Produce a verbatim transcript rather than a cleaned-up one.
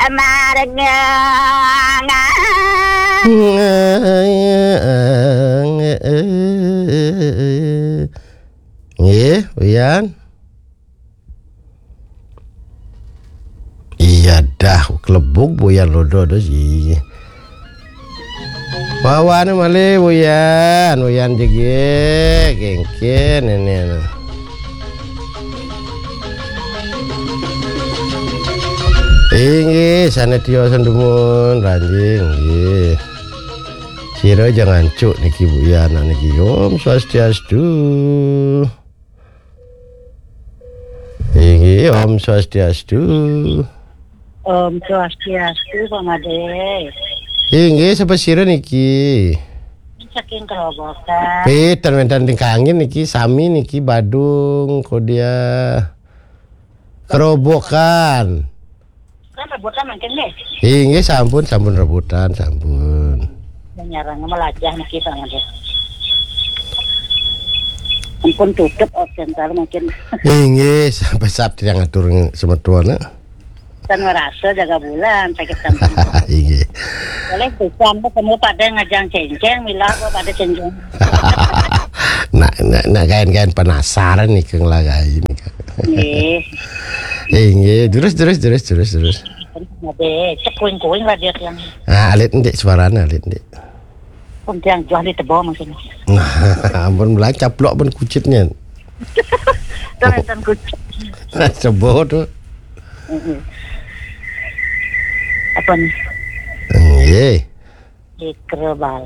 Amarengang. Nggih, Uyan. Iya dah, kelebuk Buyan lodo dos. Iya. Wawane malih Buyan, Buyan jegég, kéngkén ini anu. Inggih, sané tiosan dumun, ranjing, nggih. Sira ja ngancuk niki Buyan niki. Om Swastiastu. Inggih, Om Swastiastu. Om Swastiastu, Pak Made. Inggih, sapa sira niki? Saking Kerobokan. Piten wénten ring kangin niki, sami niki Badung, Kodia. Kerobokan. Kan rebutan mangkin nggih. Inggih, sampun, sampun rebutan, sampun. Nyarang melajah niki, Pak Made. Ampun tutup, oh, sebentar mungkin. Inggih, sampai saat yang ngatur semeton, eh. Kan ngerasa jaga bulan, sakit sampun. Inggih. Boleh pisan, semua pada ngajang céngcéng, mila kok pada céngcéng. Nak, nak, nak kain-kain penasaran nih, Kang Lagai nih. Nggih. Inggih, terus, terus, terus, terus, terus. Ada, cek kuing-kuing lah dia yang. Ah, alit ndik suaranya, alit ndik. Pun tiang jual di tebo maksudnya. Nah, ampun, belah caplok pun kucitnya. Kan enten kucit. Sebo tuh. Mm-mm. Apa nih? Nggih. Di Kerebal.